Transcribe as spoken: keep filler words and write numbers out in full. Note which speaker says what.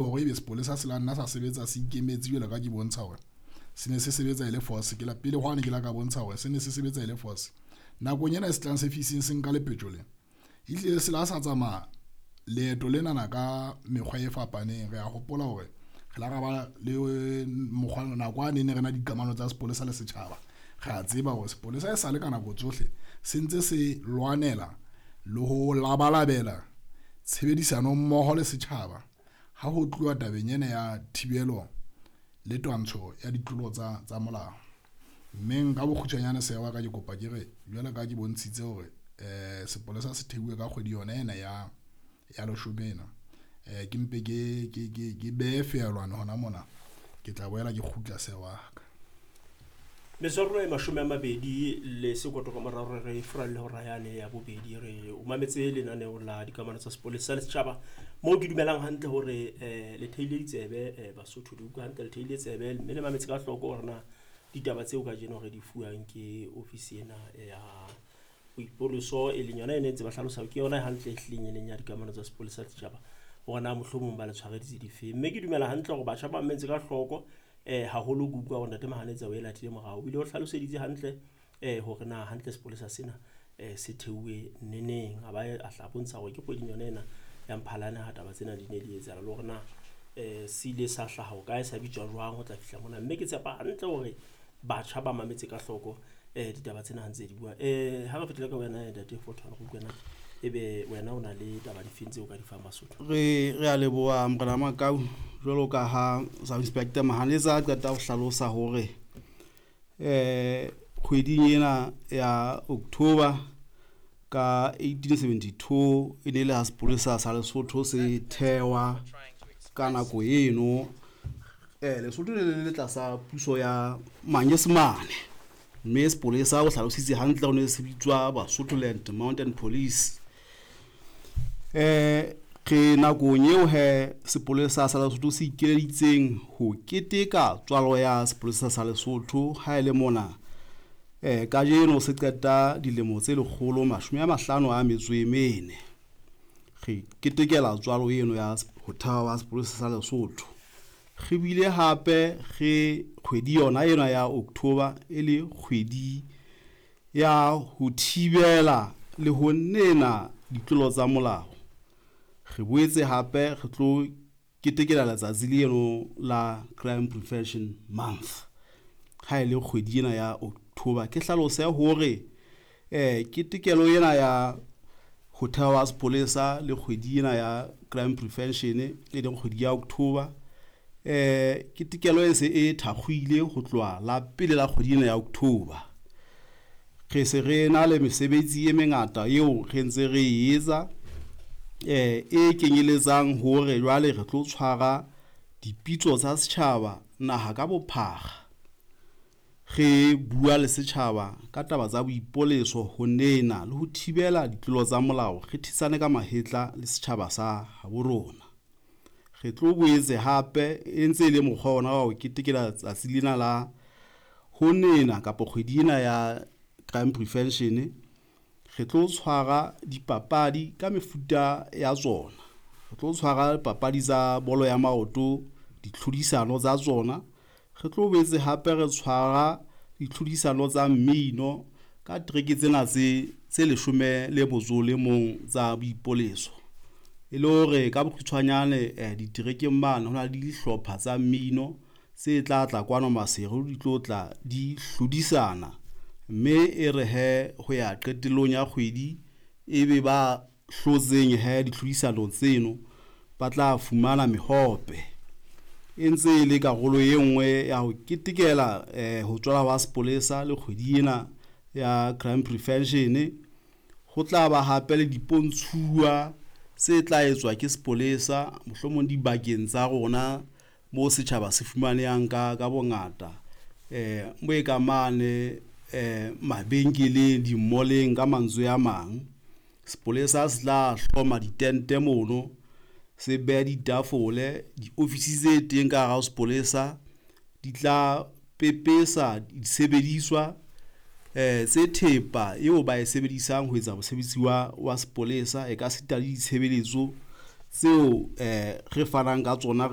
Speaker 1: Hore ebe sepolesa se la nna sa sebetsa se ikemetse jwalo ka ke bontsha hore se ne se sebetsa e le force. Ke la pele hwane ke la ka bontsha hore se ne se sebetsa e le force. Nakong ena e se tlang se fising se nka lepetjo le ehlile se la sa tsamaya leeto lenana ka mekgwa e fapaneng. Re a hopola hore re la ra ba le mokgwa nako a ne ne re na dikamano tsa sepolesa le setjhaba. Re a tseba hore sepolesa e sale ka nako tsohle se ntse se lwanela le ho labalabela tshebedisano mmoho le setjhaba ha ho tluwa tabeng ena ya thibelo le twantsho ya ditlolo tsa tsa molao. Mme nka bokgutshwanyane seya wa ka ke kopa ke re jwalo ka ke bontshitse hore eh sepolesa se theuwe ka kgwedi yona ena ya ya leshome ena. Eh ke mpe ke ke ke ke behe feelwane hona mona, ke tla boela ke kgutla seya wa ka.
Speaker 2: Metswalle e mashome a mabedi le sekoto ka morao re re furalle hora yane ya bobedi. Re o mametse lenaneo la dikamano tsa sepolesa le setjhaba, moo ke dumelang hantle hore eh le theile ditsebe, eh Basotho di utlwa hantle, le theile tsebe mme le mametse ka hloko hore na ditaba tseo kajeno re di fuwang ke ofisi ena ya boipoloso, e leng yona e ne ntse ba hlalosa ke yona hantle e hlileng e leng ya dikamano tsa sepolesa le setjhaba, hore na mohlomong ba le tshwareditse difeng. Mme ke dumela hantle hore batjha ba mametse ka hloko, eh haholo ke utlwa hore ntate Mahanetsa o e latile morao, o bile o hlaloseditse hantle eh hore na hantle sepolesa sena eh se theuwe neneng, a ba a hla bontsha hore ke kgweding yona ena ya Mphalane ha taba tsena di ne di etsahala, le hore na eh se ile sa hlaha ho kae, sa bitswa jwang ho tla fihla mona. Mme ke tshepa hantle hore batjha ba mametse ka hloko eh ditaba tsena ha ntse di bua. Eh ha re fetile ka wena ntate Fortune, re utlwe na ebe wena o na le taba difeng tseo ka di fang Basotho?
Speaker 3: Re re a leboha morena Makau, jwalo ka ha Sub Inspector Mahanetsa a qeta ho hlalosa hore eh kgweding ena ya October ka eighteen seventy-two e ne le ha sepolesa sa Lesotho se thewa ka nako eno. Eh Lesotho le le le tlasa puso ya Manyesemane, mme sepolesa o hlalositse hantle hore ne se bitswa Basotholand Mountain Police. Eh re nakong eo he sepolesa sa Lesotho se ikeleditseng ho keteka tswalo ya sepolesa sa Lesotho ha e le mona eh kajeno se qeta dilemo tse lekgolo mashome a mahlano a metso e mene. Re ketekela tswalo eno ya ho thewa sepolesa sa Lesotho. Re bile hape re kgwedi yona ena ya October e le kgwedi ya ho thibela le ho nena ditlolo tsa molao. Re boetse hape re tlo ketekela letsatsi leno la Crime Prevention Month ha e le kgwedi ena ya October. Ke hlalose hore eh ketekelo ena ya ho thewa sepolesa le kgwedi ena ya Crime Prevention e leng kgwedi ya October, eh ketekelo e se e thakgoile ho tloha la pele la kgwedi ena ya October. Re se re na le mesebetsi e mengata eo re ntse re e etsa, eh e kenyeletsang hore jwale re tlo tshwara dipitso tsa setjhaba naha ka bophara. Re bua le setjhaba ka taba tsa boipoleso ho nena le ho thibela ditlolo tsa molao, re thetsane ka mahetla le setjhaba sa habo rona. Re tlo boetse hape e ntse e le mokgwa ona wa ho ketekela tsatsi lena la ho nena kapa kgwedi ena ya Crime Prevention, re tlo tshwara dipapadi ka mefuta ya tsona. Re tlo tshwara papadi tsa bolo ya maoto, ditlhodisano tsa tsona. Re tlo boetse hape re tshwara ditlhodisano tsa mmino ka tereke tsena tse tse leshome le motso le mong tsa boipoleso. E le hore ka bokgutshwanyane eh diterekeng mane ho na le dihlopha tsa mmino tse tla tla kwano Maseru, di tlo tla di hlodisana, mme e re he ho ya qetellong ya kgwedi ebe ba hlotseng he ditlhodisanong tseno ba tla fumana mehope. E ntse e le karolo e nngwe ya ho ketekela eh ho tswala wa sepolesa le kgwedi ena ya Crime Prevention. Ho tla ba hape le dipontshuwa tse tla etswa ke sepolesa mohlomong dibakeng tsa rona mo setjhaba se fumanehang ka ka bongata, eh mo e ka mane eh mabenkeleng, dimoleng ka mantswe a mang. Sepolesa se tla hloma ditente mono, se behe ditafole, diofisi tse teng ka hara ho sepolesa di tla pepesa disebediswa eh tse thepa eo ba e sebedisang ho etsa mosebetsi wa wa sepolesa, e ka sita le ditshebeletso tseo eh re fanang ka tsona re